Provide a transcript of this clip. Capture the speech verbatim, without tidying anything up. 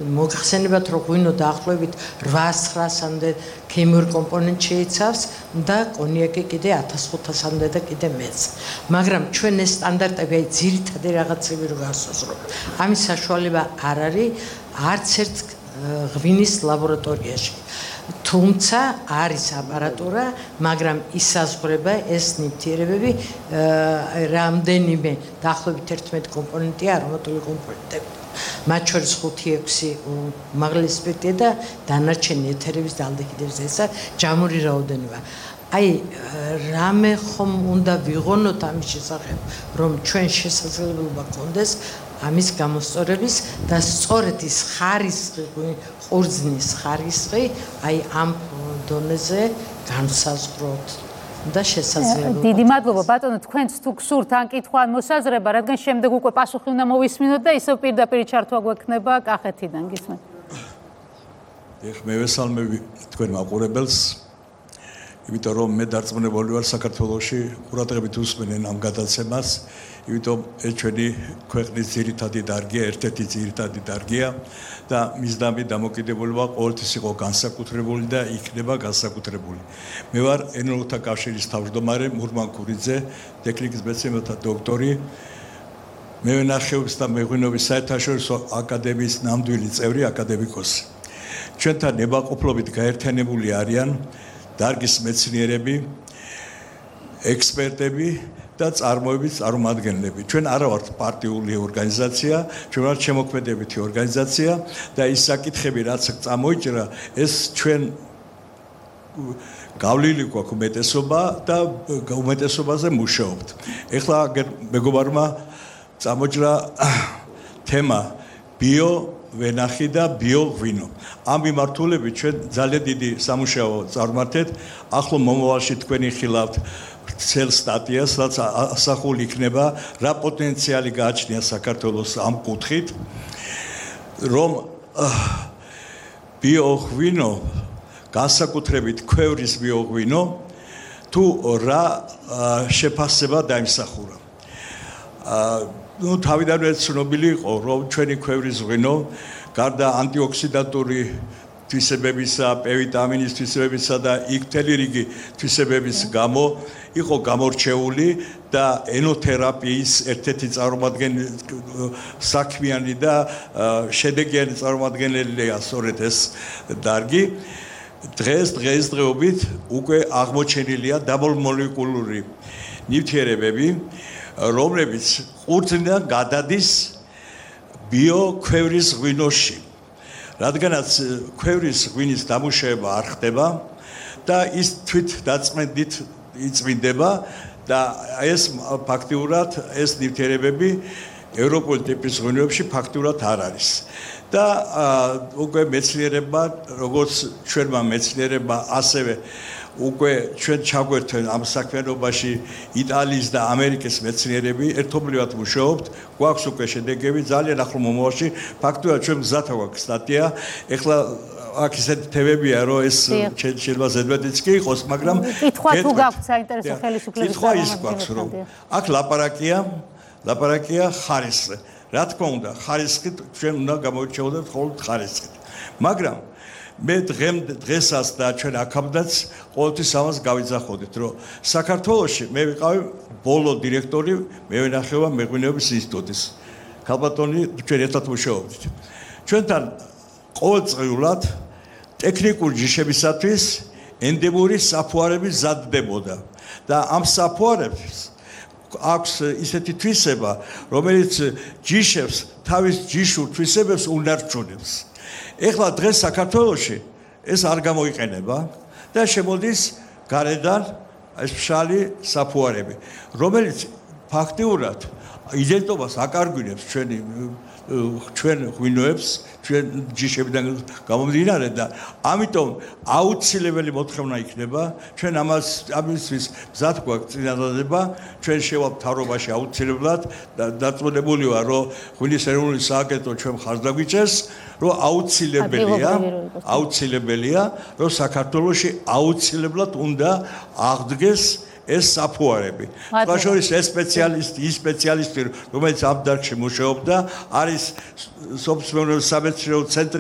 მოგხსენებათ, რომ ღვინო დაახლოებით რვაას-ცხრაასამდე ქიმიურ კომპონენტს შეიცავს და კონიაკი კიდე ათას ხუთასამდე და კიდე მეც. მაგრამ ჩვენ ეს სტანდარტები აი ძირითადი რაღაცები რო გასაზრდოთ. ამის საშუალება არ არის არც ერთ ღვინის ლაბორატორიაში. თუმცა არის აპარატურა, მაგრამ ისაზღვრება ეს ნივთიერებები რამდენიმე დაახლოებით ერთმეტი კომპონენტია არომატული კომპონენტები. მათ შორის ხუთი ექვსი უმაღლესი სპირტია და დანარჩენი ეთერების და ალდეჰიდების ესა ჯამური რაოდენობა. აი რამე ხომ უნდა ვიღონოთ ამის შესახებ, რომ ჩვენ შესაძლებლობა გქონდეს ამის გამოსწორების და სწორედ ის ხარისხი, ყურძნის ხარისხი, აი ამ დონეზე განსაზღვროთ. და შესაძლებლობა. დიდი მადლობა ბატონო, თქვენც თუ გსურთ ან კითხვა ან მოსაზრება, რადგან შემდეგ უკვე პასუხი უნდა მოვისმინოთ და ისევ პირდაპირ ჩართვა გვექნება კახეთიდან, გისმენთ. ეხ მე ვესალმები თქვენ მაყურებელს, იმიტომ რომ მე დარწმუნებული ვარ საქართველოში ყურადღებით უსმენენ ამ გადაცემას, იმიტომ ეს ჩვენი ქვეყნის ძირითადი დარგია, ერთ-ერთი ძირითადი დარგია და მისდამი დამოკიდებულება ყოველთვის იყო განსაკუთრებული და იქნება განსაკუთრებული. მე ვარ ენოლოგთა კავშირის თავმჯდომარე მურმან ქურიძე, ტექნიკის მეცნიერებათა დოქტორი, მევენახეობის და მეღვინეობის საერთაშორისო აკადემიის ნამდვილი წევრი აკადემიკოსი. ჩვენთან ნებაყოფლობით გაერთიანებული არიან დარგის მეცნიერები, ექსპერტები და წარმოების წარმომადგენლები. ჩვენ არა ვართ პარტიული ორგანიზაცია, ჩვენ ვართ შემოქმედებითი ორგანიზაცია და ის საკითხები, რაც წამოიჭრა, ეს ჩვენ გავლილი გვაქვს უმეტესობა და უმეტესობაზე მუშაობთ. ეხლა მეგობარმა წამოჭრა თემა ბიო ვენახი და ბიოღვინო. ამ მიმართულებით ჩვენ ძალიან დიდი სამუშაო წარმართეთ. ახლო მომავალში თქვენი ხილავთ ცელ სტატიას, რაც ასახული იქნება, რა პოტენციალი გააჩნია საქართველოს ამ კუთხით, რომ ბიოღვინო, განსაკუთრებით ქვევრის ბიოღვინო, თუ რა შეფასება დაიმსახურა. ну თავიდანვე ცნობილი იყო რომ ჩვენი ქვევრის ღვინო გარდა ანტიოქსიდანტური თვისებებისა, პ ვიტამინის თვისებებისა და იქ მთელი რიგი თვისებების გამო იყო გამორჩეული და ენოთერაპიის ერთ-ერთი წარმომადგენელი საქმიანი და შედეგიანი წარმომადგენელია სწორედ ეს დარგი. დღეს დღესდღეობით უკვე აღმოჩენილია დაბოლმოლეკულური ნივთიერებები, რომლებიც ყურძნიდან გადადის ბიოქვევრის ღვინოში. რადგანაც ქვევრის ღვინის დამუშავება არ ხდება და ის თვით დაწმენდით იწმინდება და ეს ფაქტიურად ეს ნივთიერებები ევროპული ტიპის ღვინოებში ფაქტიურად არ არის. და უკვე მეცნიერებმა, როგორც ჩვენმა მეცნიერებმა, ასევე უკვე ჩვენ ჩაგვერთვენ ამ საქმიანობაში იტალიის და ამერიკის მეცნიერები, ერთობლივად მუშაობთ, გვაქვს უკვე შედეგები, ძალიან ახლო მომავალში, ფაქტობრივად ჩვენ გზად აქვს სტატია, ეხლა აქ ისეთი თემებია, რომ ეს შეიძლება ზედმეტიც კი იყოს, მაგრამ კითხვა თუ გაქვთ საინტერესო ხელისუფლების კითხვა ის გვაქვს, რომ აქ ლაპარაკია, ლაპარაკია ხარისხზე. რა თქმა უნდა, ხარისხით ჩვენ უნდა გამოვირჩეოდეთ მხოლოდ ხარისხით. მაგრამ მე დღესაც და ჩვენ აქამდეც ყოველთვის ამას გავიძახოდით, რომ საქართველოში მე ვიყავი ბოლო დირექტორი მევენახეობა მეღვინეობის ინსტიტუტის. ქალბატონი ჩვენ ერთად მუშაობდით. ჩვენთან ყოველწლიურად ტექნიკური ჯიშებისათვის ენდემური საფუარები მზადდებოდა და ამ საფუარებს აქვს ისეთი თვისება, რომელიც ჯიშებს თავის ჯიშურ თვისებებს უნარჩუნებს. ეხლა დღეს საქართველოში ეს არ გამოიყენება და შემოდის გარედან ეს ფშალი საფუარები, რომელიც ფაქტიურად იდენტობას აკარგვინებს ჩვენი ჩვენ ღვინოებს, ჩვენ ჯიშებიდან გამომდინარე და ამიტომ აუცილებელი მოთხოვნა იქნება, ჩვენ ამას ამისთვის მზად გვაქვს წინადადება, ჩვენ შევალ მთავრობაში აუცილებლად და დაწუნებული ვარ, რომ ღვინის ეროვნული სააგენტო ჩვენ მხარს დაგვიჭერს, რომ აუცილებელია, აუცილებელია, რომ საქართველოში აუცილებლად უნდა აღდგეს ეს საფუარები. სხვა შორის ეს სპეციალისტი, ის სპეციალისტი, რომელიც ამ დარგში მუშაობდა, არის სოფლის მეურნეობის სამეცნიერო ცენტრი